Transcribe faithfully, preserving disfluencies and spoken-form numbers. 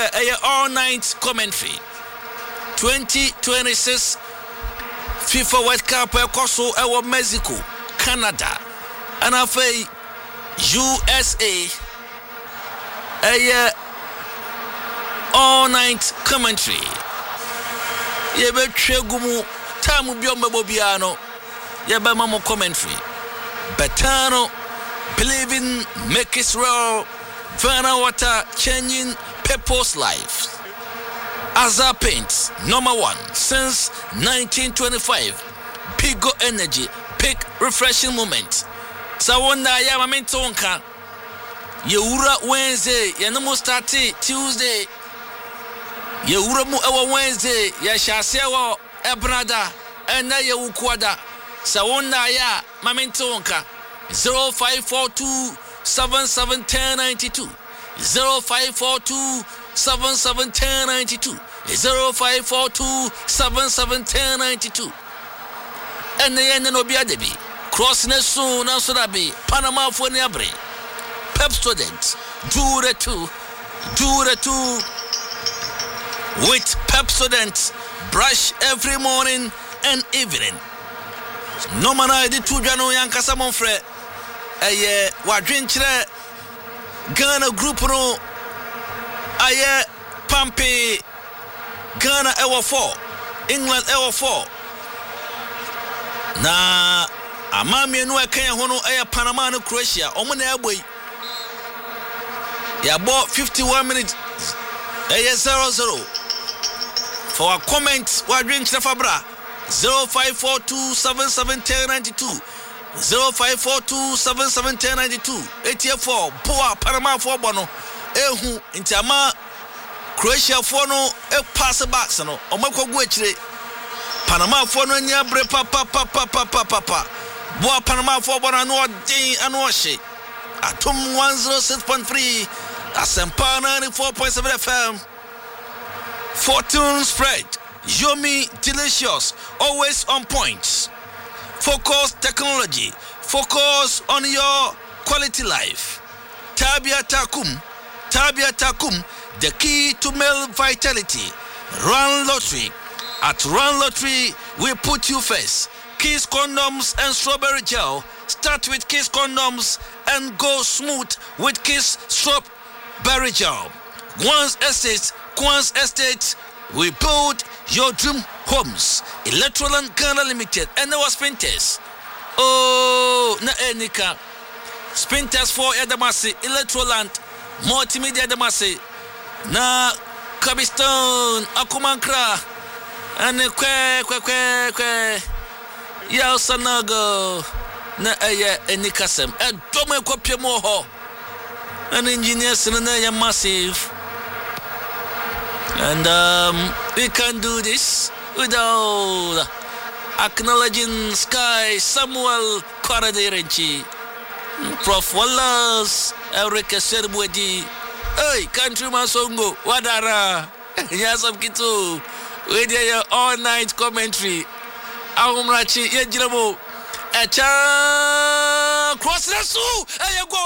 Sɛ ɛyɛ all night commentary, twenty twenty-six FIFA World Cup ɛkɔ so ɛwɔ Mexico, Canada ɛna afei U S A. Ɛyɛ all night commentary, yɛbɛtwa gu mu. Time bi a ɔmbɛbɔ biara no, yɛbɛma mo commentary. Betano, believing make it real. Verna Water, changing people's lives. Azar Paints, number one since nineteen twenty-five. Pigo Energy, pick refreshing moment. Sɛ wo nna yɛ ama mente wo nka. Yɛwura Wednesday, yɛne mo start Tuesday. Yɛwura mu ɛwɔ Wednesday, yɛhyɛ aseɛ wɔ Ɛbenada, ɛnɛ yɛ Wukuada. Sɛ wo nna yɛ a ma mente wo nka. zero five four two seven seven one zero nine two, zero five four two seven seven one zero nine two, zero five four two seven seven one zero nine two. Ɛnɛ yɛn ne no obi ada bi cross ne so nanso da bi Panamafoɔ ni abere. Pepsodent, do the two, do the two with Pepsodent. Brush every morning and evening. Nɔɔma no a yɛde to dwa no, yɛankasa mɔmfrɛ. Ɛyɛ wadwenkyerɛ. Ghana group no ayɛ pampe. Ghana ɛwɔ four, England ɛwɔ four, na ama mmienu a ɛka yɛn ho no ɛyɛ Panama ne Croatia. Ɔmo na ɛbɔ yi. Yɛabɔ fifty-one minutes, ɛyɛ zero zero. For our comment, wadwenkyerɛ fa bra zero five four two seven seven one zero nine two, zero five four two seven seven one zero nine two. Etiefoɔ, boa Panamafoɔ bɔ no ehu nti ama Croatiafoɔ no pass backs no, ɔmo akɔgu akyire. Panamafoɔ no ani abere papapapapapapa. Boa Panamafoɔ bɔ no, ano ɔden, ano ɔhye. Atom one oh six point three, Asɛmpa ninety-four point seven F M. Fortune spread, yummy, delicious, always on point. Focus Technology, focus on your quality life. Tabia Takum, Tabia Takum, the key to male vitality. Run Lottery. At Run Lottery, we put you first. Kiss condoms and strawberry gel. Start with Kiss condoms and go smooth with Kiss strawberry gel. Guans Estate, Guans Estate, we build your dream homes. Electroland Ghana Limited, and there was Spinters. Oh, na enika. Spinters for Edamasi, Electroland, Multimedia Edamasi, na Kabistone, Akumankra, and kwe kwe kwe kwe. Yaw Sanogo, na ɛyɛ anikasɛm. Ɛdɔm ɛkɔpie mu wɔ hɔ. And engineers no na ɛyɛ massive. And um, we can't do this without acknowledging Sky Samuel Kwaraderenchi, Prof Wallace Eric Serbuedi, hey, Countryman Songo, Wadara, Yasam Kitu, we did your all night commentary. Ahomrachi, yɛgyina mu. Ɛkyɛ cross na so, ɛyɛ goal.